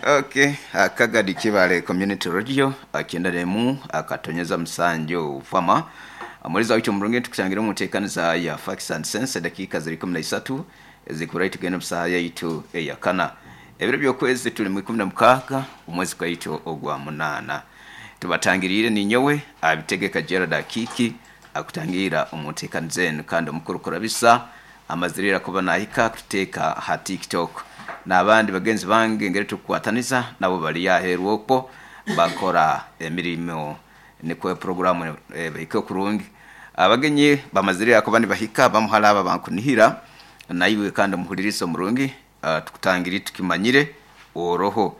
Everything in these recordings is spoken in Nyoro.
Okay, Kagadi Kibale Community Radio 91 akatonyeza musanju fama amaliza wicho murungi tukusangira mu nteekaniza ya Facts and Sense. Dakika ziri 13 ezikurayi tugenda mu saha yaitu eyakana. Ebiro by'okwezi tuli mu 16 omwezi gwaitu ogwa 8. Tubatangiriire ninyowe abitegeka Gerald Akiki akutangira omu nteekaniza enu, kandi omukuru kurabisa amazirira kuba nahika kututeeka ha TikTok n'abandi bagenzi bange engeri tukukwataniza nabo bali aheeru okwo bakora emirimo nikwo programu bahike kurungi. Abagenyi bamazirira kuba nibahika bamuhala aba bankunihira naiwe kandi omuhuliriza omurungi, tukutangiri tukimanyire oroho.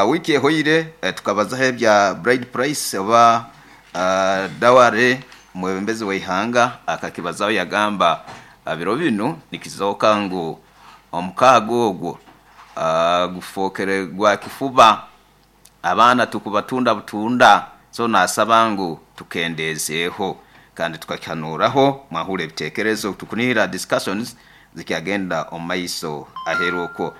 Wiki ehoire tukabazaho ebya bride price oba dowry. Mwebembezi w'eihanga akakibazaho, yagamba biro binu nikizooka ngu omukaaga ogwo gufookere gwa kifuba, abaana tukubatunda butunda. So nasaba ngu tukendeezeeho kandi tukakihanuuraho, mwahurra ebiteekerezo. Tukunihira discussions zikyagenda omu maiso aheeru okwo.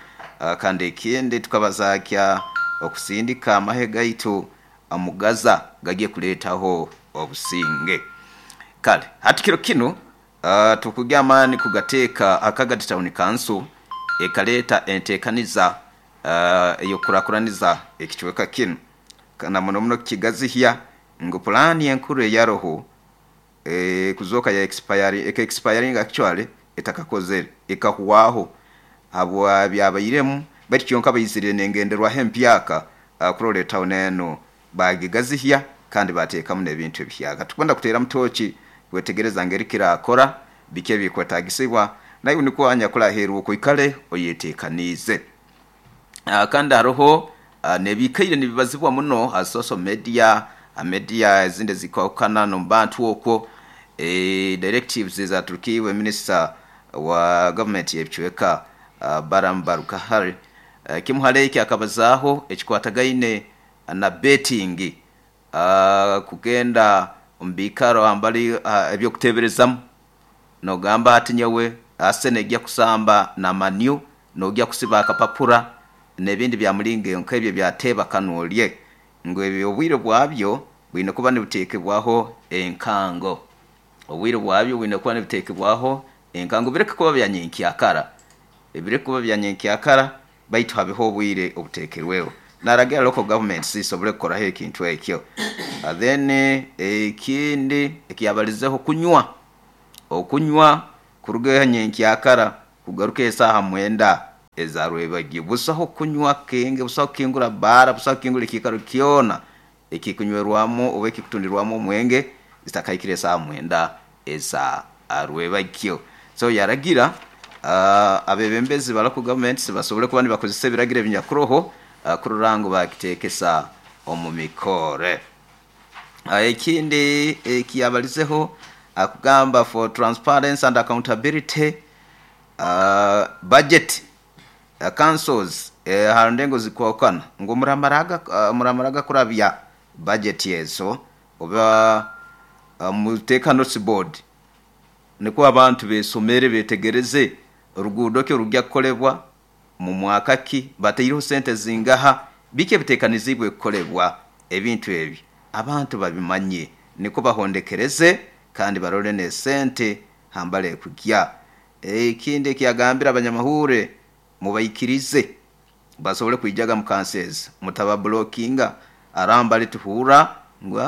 Kandi ekindi tukabaza kya okusindika amahe gaitu omu Gaza gagiye kuleetaho obusinge. Kale hati kiro kinu tukugya amaani kugateeka Akagadi Town Council ekaleeta enteekaniza ey'okukurakuraniza ekicweka kinu na muno muno kukigazihya, ngu pulaani enkuru eyaroho kuzooka ya expire, eka expiring actually etakakozere ekahwaho habwa byabairemu, baitu kyonka baizire n'engenderwaho empyaka kurora etawuni enu bagigazihya kandi bateekamu n'ebintu ebihyaka. Tukwenda kuteeramu tooki kwetegereza ngeri kirakora, biki ebikwetagisibwa, naiwe nikwo anyakuli aheeru okwo oikale oyeteekaniize. Kandi haroho n'ebiikaire nibibazibwa muno ha social media, ha media ezindi ezikwahukana n'omu bantu okwo, directives ezaturukiibwe minisita wa gavumenti y'ebicweka Balaam Barugahare. Kimu hali eki akabazaaho ekikwatagaine na betting, kugenda omu biikaro hambali eby'okuteeberezamu nogamba ati nyowe Arsenal egya kusamba na Man U, nogya kusiba akapapura n'ebindi bya mulingo eyo nk'ebyo ebya teeba kanu olye, ngu ebyo obwire bwabyo bwine kuba nibuteekebwaho enkango. Obwire bwabyo bwine kuba nibuteekebwaho enkango, bireke kuba bya nyenkyakara, bireke kuba bya nyenkyakara baitu habeho obwire obuteekerweho. Naragira local governments zisobole kukoraho ekintu ekyo. Then ekindi ekiyabalizeho kunywa, okunywa kuruga nyenkyakara kugaruka esaaha 9 eza rwebagyo. Busaho kunywa kenge, busaho kukingura baara, busaho kukingura ekiikaro kyona ekikunywerwamu oba ekikutundirwamu omwenge zitakahikire esaaha 9 eza rwebagyo. So yaragira abebembezi ba local governments basobole kuba nibakozesa ebiragiro ebinyakuroho kurora ngu baakiteekesa omu mikore. Ekindi ekiyabalizeho akugamba for transparency and accountability, budget councils ha ndengo zikwahukana ngu muramaraga kurabya budget ezo oba muteeke notice board nikwo abantu besomere betegereze oruguudo ki orugya kukolebwa, mu mwaka ki, bataireho sente zingaha, biki ebiteekaniziibwe kukolebwa. Ebintu ebi abantu babimanye nikwo bahondekereze kandi barole n'esente hambali ekugya. Ekindi ekiyagambire abanyamahuure, mubaikirize basobole kwijaga mu kanso ezi, mutababulokinga arambali tuhurra ngu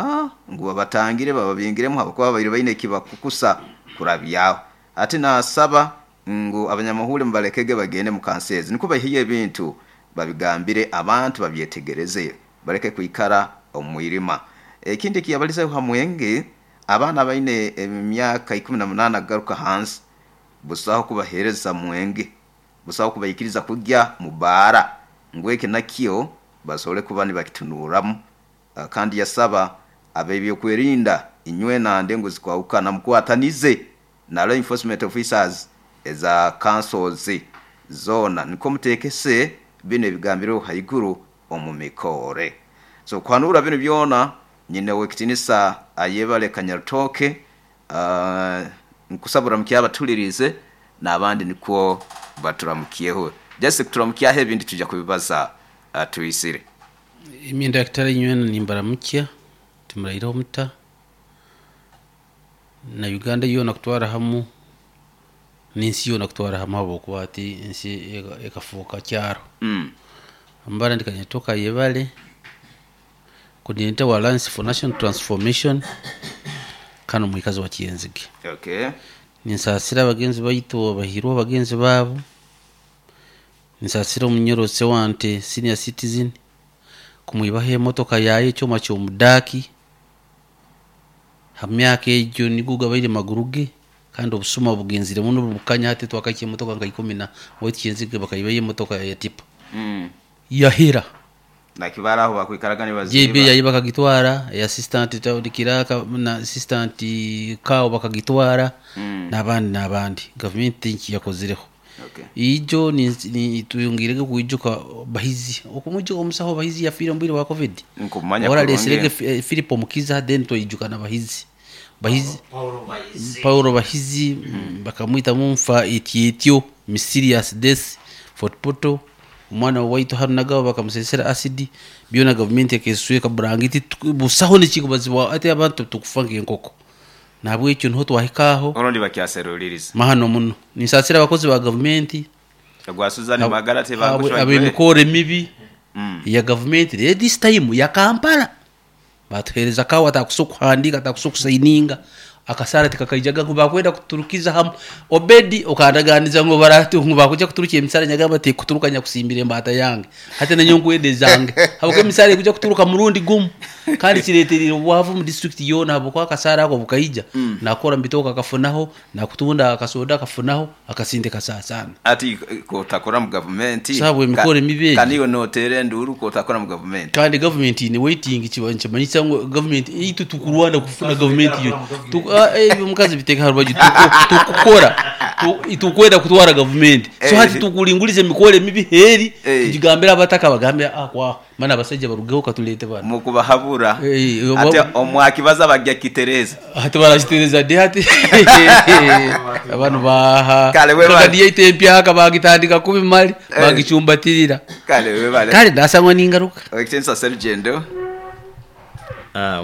ngu babatangire bababingiremu habwokuba babaire baine ekibakukusa kurabyaho. Hati nasaba ngu abanyamahuure mubalekege bagende mu kanso ezi nikwo baiheyo ebintu babigambire abantu babyetegereze baleke kwikara omu mwirima. Ekindi ekiyabalizeho ha mwenge, abaana abaine emyaka 18 kugaruka hansi busaho kubaheereza mwenge, busaho kubaikiriza kugya mu baara, ngu eki nakyo basobole kuba nibakitunuuramu. Kandi yasaba ab'ebyokwerinda inywena ndengo zikwahukana mukwatanize na law enforcement officers eza councils zoona nikwo muteekese binu ebigambirweho haiguru omu mikoore. So kuhanuura binu byona nyine ow'ekitinisa Ayebare Kanyarutooke, nkusaba oramukye abatuliriize n'abandi nikwo baturamukyeho. Just kuturamukyaho ebindi twija kubibaza. Atuisire. Imyenda yakitara inywena nimbaramukya timuraireho muta na Uganda yoona kutwara hamu n'ensi yoona kutwara hamu habwokuba hati ensi ekafuuka kyaro. Ambara ndikanyetoka yebale coordinator wa Alliance for National Transformation kano mwikazi wa Kyenzige. Okay. Ninsasira abagenzi baitu abahirwe abagenzi baabo, ninsasira omunyorose wante senior citizen kumwibaho emotoka yaye ekyoma ky'omudaaki ha myaka egyo nigwo gabaire maguru ge, kandi obusuma bugenzire muno bukanya hati twakaikia emotoka nka ikumi na waitu Kyenzige bakaibayo emotoka ya tipa. Yahera. Nakibara aho bakwikaraga JB nibaziba. yayi bakagitwara, assistant town kiraka na assistant kao bakagitwara, n'abandi n'abandi. Gavumenti nki yakozireho. Okay. Ijo ni tuyongirege kuijuka Bahizi. Okumujuka omusaho Bahizi yafiire mu bwire bwa COVID. Nkumanya Ora kurungi. leserege Philip Omukiza then twijuka na Bahizi. Bahizi Paulo Bahizi bakamwita mumfa etietyo mysterious death Fort Portal. Omwana waitu hano nagabo bakamusesera acid byona gavumenti ekesweka burangiti busaho nekikubazibwa ati abantu tukufa nk'enkoko. Nabwekyo niho twahikaho. Orundi bakyaseruliriza. Mahano muno. Ninsasira abakozi ba gavumenti. Gwa Suzan Magara tebagushwa. Ab'emikoro emibi ya gavumenti. Rero this time ya Kampala batuhereza kawa atakusa okuhandika atakusa okusaininga akasara tikakaijaga ngu bakwenda kuturukiza hamu Obedi okandaganiza ngu baratu ngu bakuja kuturukia emisara nyagamba ti kuturuka nyakusimbira embata yange hati nanyo nkwende zange habwo emisara ekuja kuturuka murundi gumu kandi kireterire obwavu mu district yona habwo akasara ako bukaija. Nakora mbitoka akafunaho nakutunda akasoda akafunaho akasinde kasasana. Ati kotakora mu government. Sabu emikoro emibi egi. Kaniyo notere nduru kotakora mu government. Kandi government ni waiting kimanyisa ngu government itu tukurwana kufuna government yo. Omukazi biteka harubaju tukukora tukwenda kutwara government. So hati tukulingulize emikoro emibi heri tugigambira abataka bagambe kwa mana abasajja barugeho katulete bana. Mukubahabura. Ati omwakibaza bajya kitereza. Ati barakitereza de hati. Abantu baha. Kale we bale. Kadi yaite empyaka bagitandika kubi mali bagicumbatirira. Kale we bale. Kale ndasangwa ningaruka. Okitinsa Sergendo.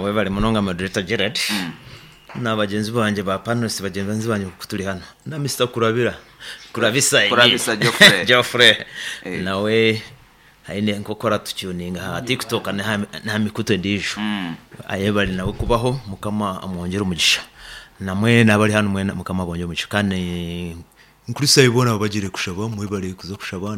We bale munonga moderator Gerard. Na bagenzi banje ba panelists bagenzi banje kutuli hano. Na Mr. Kurabira. Kurabisa. Kurabisa Geoffrey. Geoffrey. Nawe haine nkokora tutuninga ha TikTok na mikuto ndijo. Ayebali nawe kubaho mukama amwongera umugisha. Namwe nabali hano mwe mukama abongera umugisha kandi nkurisa ibona bagire kushaba mwe bari kuza kushaba.